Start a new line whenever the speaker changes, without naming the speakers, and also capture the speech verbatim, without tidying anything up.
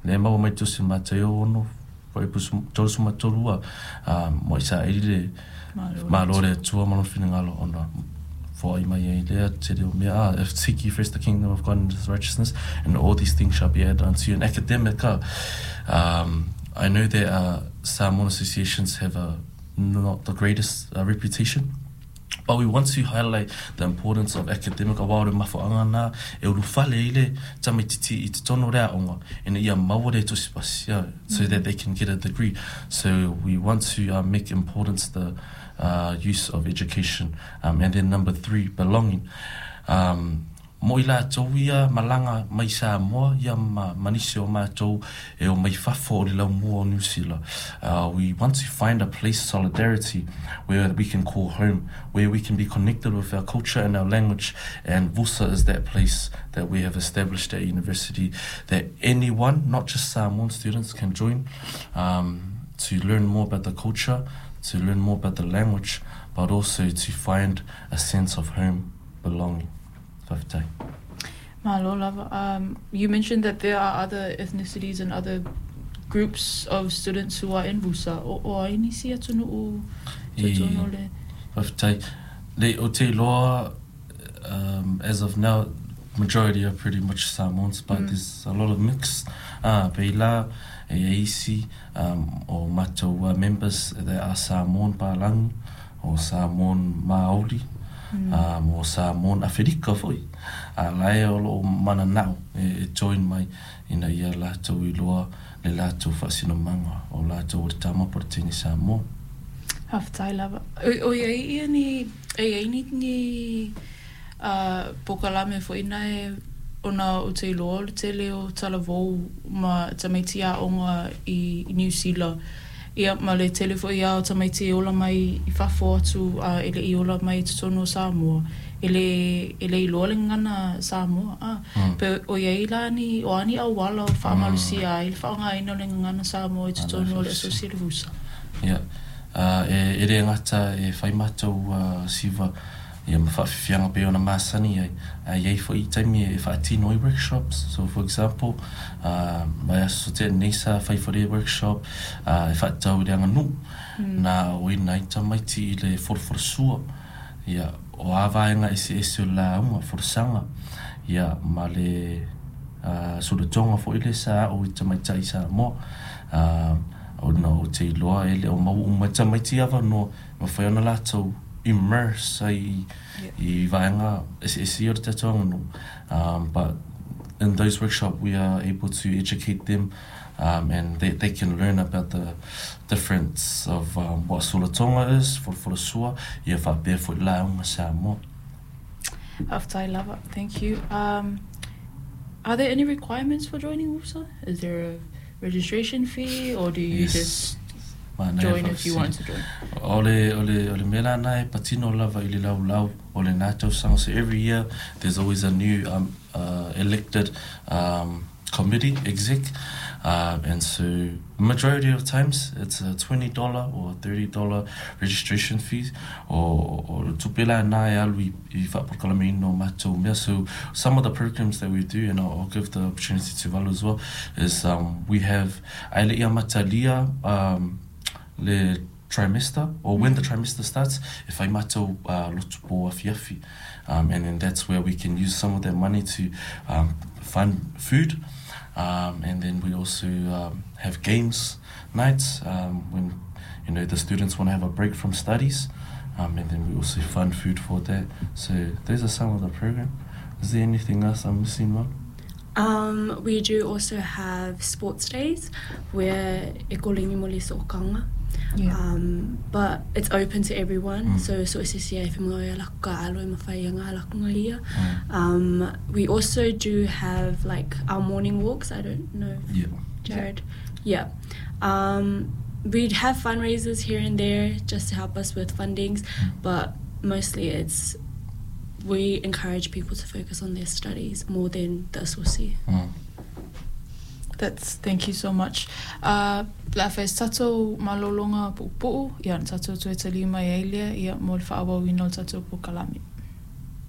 Le maua mai Tusi Mataio ono fuaiupu tolusefu ma tolu a mo Isaeli le Malo o le Atua ma lona finagalo ona foai mai ai lea tele o mea a if seek ye first the kingdom of God and his righteousness and all these things shall be added unto you. And academic a um, I know that uh, Samoan associations have a not the greatest uh, reputation but we want to highlight the importance of academic aua o le mafuaaga lena e ulufale ai le tamaititi i totonu o le aoga ina ia maua le tusi pasi so that they can get a degree so we want to uh, make importance the uh, use of education um, and then number three belonging um, Mo i latou ia malaga mai Samoa ia ma ma nisi o matou e o mai fafo o le laumua o Niu Sila. Uh, we want to find a place solidarity where we can call home, where we can be connected with our culture and our language, and VUSA is that place that we have established at university that anyone, not just Samoan students, can join um, to learn more about the culture, to learn more about the language, but also to find a sense of home belonging. Faafetai.
Malo lava. Um, you mentioned that there are other ethnicities and other groups of students who are in VUSA. O, o ai nisi atunuu totonu o le...
Faafetai. Le o te iloa, um, as of now, majority are pretty much Samoans, but mm. there's a lot of mix. Ah, pei la e ai isi um, o matou uh, members that are Samoan Palangi, o Samoan Maori, mm. um, o Samoan Aferika foi. A lae o loo mananao e, e join mai ina ia latou iloa le latou faasinomaga o latou o le tama po o le teine Samoa.
Faafetai lava. O i ai ia ni, e i ai ni, ni uh, polokalame foi na e ona o te iloa o le tele o talavou ma tamaiti aoga i, i Niu Sila. Ia, ma le tele foi ia o tamaiti e ola mai i fafo atu a e le i ola mai i totonu o Samoa. E le, e le iloa le gagana Samoa. A, mm. pe o i ai la ni, o a ni auala o faamalosia ai le faaaogaina o le gagana Samoa i totonu o le asosi le VUSA.
Ia, uh, e, e le gata e fai matou uh, siva ia ma faafiafiaga pei ona masani ai a i ai foi taimi e faatino ai workshops so for example uh, vaiaso tea nei sa fai foi workshop uh, e faatatau i le aganuu mm. na oina ai tamaiti i le folafolasua ia o a vaega eseese o le lauga folasaga ia ma le uh, sulatoga foi le sa aʻo i tamaitai Samoa uh, ona o te iloa e le o maua uma tamaiti avanoa mafai ona latou immerse ai i vaega eseese o le tatou aganuu um, but in those workshops we are able to educate them um, and they, they can learn about the difference of um, what sulatoga is, folafolasua, ia faapea foi lauga Samoa.
Faafetai lava. Thank you. Um, are there any requirements for joining VUSA? Is there a registration fee or do you
Yes.
just
Manaia
join if you want to join?
O le, o le, o le mea lana e patino lava i le laulau o lena tausaga. So every year there's always a new um, uh, elected um, committee, exec. Uh, and so majority of times it's a twenty dollar or thirty dollar registration fees o o le tupe lana e alu i, i faapolokalameina o matou mea. So some of the programs that we do, and I'll, I'll give the opportunity to Valu as well, is um, we have ae le i amatalia um, le trimester or when the trimester starts e fai matou uh, lotu po afiafi um, and then that's where we can use some of that money to um, fund food um, and then we also um, have games nights um, when you know the students want to have a break from studies um, and then we also fund food for that so those are some of the program is there anything else I'm missing one
Um, we do also have sports days where e kolegi mo le so'okaga.
Yeah.
Um, but it's open to everyone.
Mm.
So so se sia e mo ya la ka alo e mawhai nga la nga ia.
mm.
Um, we also do have like our morning walks. I don't know if
yeah
Jared. Yeah. Um, we'd have fundraisers here and there just to help us with fundings,
Mm.
but mostly it's we encourage people to focus on their studies more than the asosi.
Mm.
That's thank you so much. Uh, le a fai se tatou malologa puupuu, ia na tatou toe taliu mai ai lea, ia mo le faaauauina o le tatou polokalame.